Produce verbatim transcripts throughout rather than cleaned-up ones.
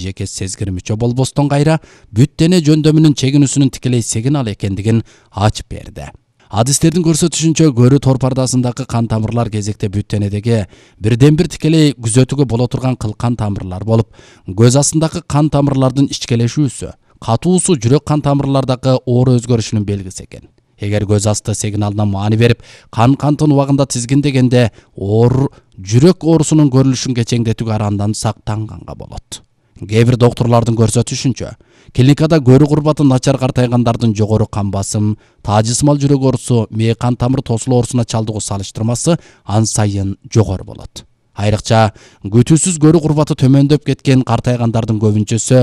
жеке сезгир мүчө болбостон кайра бүт дене жөндөмүнүн чегинүүсүнүн тикелей сигнал экендигин ачып берди. Адистердин көрсөтүшүнчө көрүү торпардасындагы кан тамырлар кезекте бүт денедеги бирден бир тикелей күзөтүүгө боло турган кылкан тамырлар болуп, көз астындагы кан тамырлардын ичкелешүүсү, катуусу жүрөк кан тамырлардагы оор өзгөрүшүнүн белгиси экен. Эгер көз асты сигналына маани берип, кан кантын убагында тизгиндегенде оор жүрөк оорусунун көрүлүшүн кечеңдетүүгө арандан сактанганга болот. Кээ бир доктурлардын көрсөтүшүнчө, клиникада көрүү курбаты начар картайгандардын жогору кан басым, таажысмал жүрөк оорусу, мээ кан тамыр тосулу оорусуна чалдыгуу салыштырмасы ан сайын жогору болот. Айрыкча күтүүсүз көрүү курбаты төмөндөп кеткен картайгандардын көбүнчөсү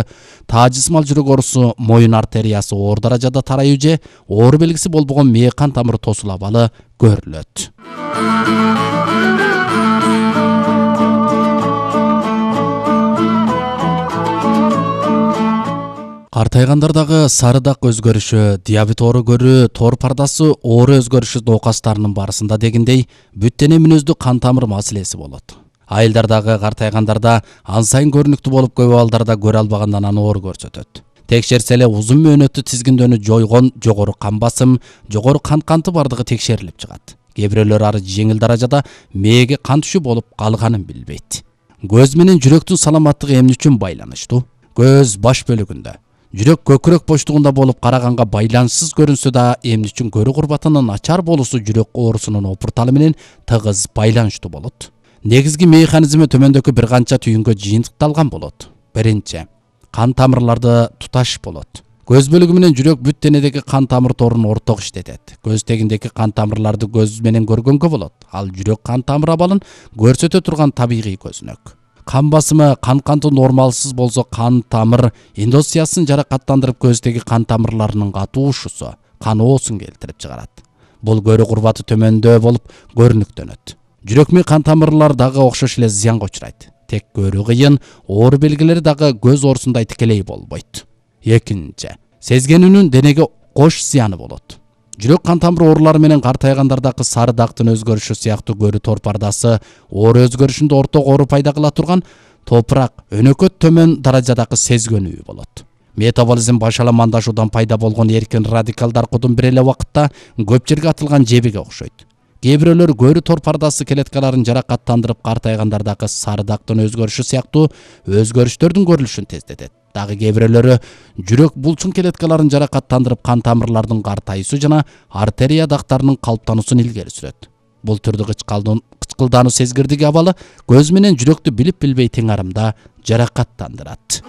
таажысмал жүрөк оорусу, моюн артериясы оор даражада тарайуу же оор белгиси болбогон мээ кан тамыр тосулу абалы көрүлөт. Картайгандардагы сарыдак өзгөрүшү, диабет оору көрүү, тор пардасы оору өзгөрүшү оокастарынын барысында дегендей бүт дене мүнөздүү кан тамыр маселеси болот. Айылдардагы картайгандарда ан сайын көрүнүктүү болуп, көп абалдарда көрө албагандан аны оор көрсөтөт. Текшерсе эле узун мөөнөттүү тизгиндөөнү жойгон жогору кан басым, жогору кан канты бардыгы текшерилип чыгат. Кээ бирөөлөр ары жеңил даражада мээге кан түшүү болуп калганын билбейт. Көз менен жүрөктүн саламаттыгы эмне үчүн байланыштуу? Көз баш бөлүгүндө, жүрөк көкүрөк боштугунда болуп караганга байланышсыз көрүнсө да, эмне үчүн көрүү курбатынын начар болуусу жүрөк оорусунун опурталы менен тыгыз байланыштуу болот. Негизги механизми төмөндөгү бир канча түйүнгө жыйынтыкталган болот. Биринчи, кан тамырларды туташ болот. Көз бөлүгү менен жүрөк бүт денедеги кан тамыр торун орток иштетет. Көз тегиндеги кан тамырларды көз менен көргөнгө болот. Ал жүрөк кан тамыр абалын көрсөтө турган табигый көзүнөк. Кан басымы, кан канты нормалсыз болсо, кан тамыр эндотелиясын жаракаттандырып, көздөгү кан тамырларынын катуушусу, кан оосун келтирип чыгарат. Бул көрүү курбаты төмөндөө болуп көрүнүктөнөт. Жүрөк менен кан тамырлар дагы окшош эле зыянга учурайт. Тек көрүү кыйын, оор белгилери дагы көз оорусундай тикелей болбойт. Экинчи, сезгенүүнүн денеге кош зыяны болот. Жүрөк кан тамыр оорулары менен картайгандардагы сары дактын өзгөрүшү сыяктуу көрүү торпардасы оор өзгөрүшүндө орток оору пайда кыла турган топурак, өнөкөт төмөн даражадагы сезгенүү болот. Метаболизм башаламандашуудан пайда болгон эркин радикалдар кудум бир эле убакытта көп жерге атылган жебиге окшойт. Кээ бирөөлөр көрүү торпардасы клеткаларын жаракаттандырып, картайгандардагы сары дактын өзгөрүшү сыяктуу өзгөрүштөрдүн көрүлүшүн тездетет. Дагы кээ бирөөлөрү жүрөк булчун клеткаларын жаракаттандырып, кан тамырлардын картайуусу жана артерия дактарынын калыптануусун илгери сүрөт. Бул түрдүү кычкылдаануу сезгирдиги абалы көз менен жүрөктү билип билбей тең арымда жаракаттандырат.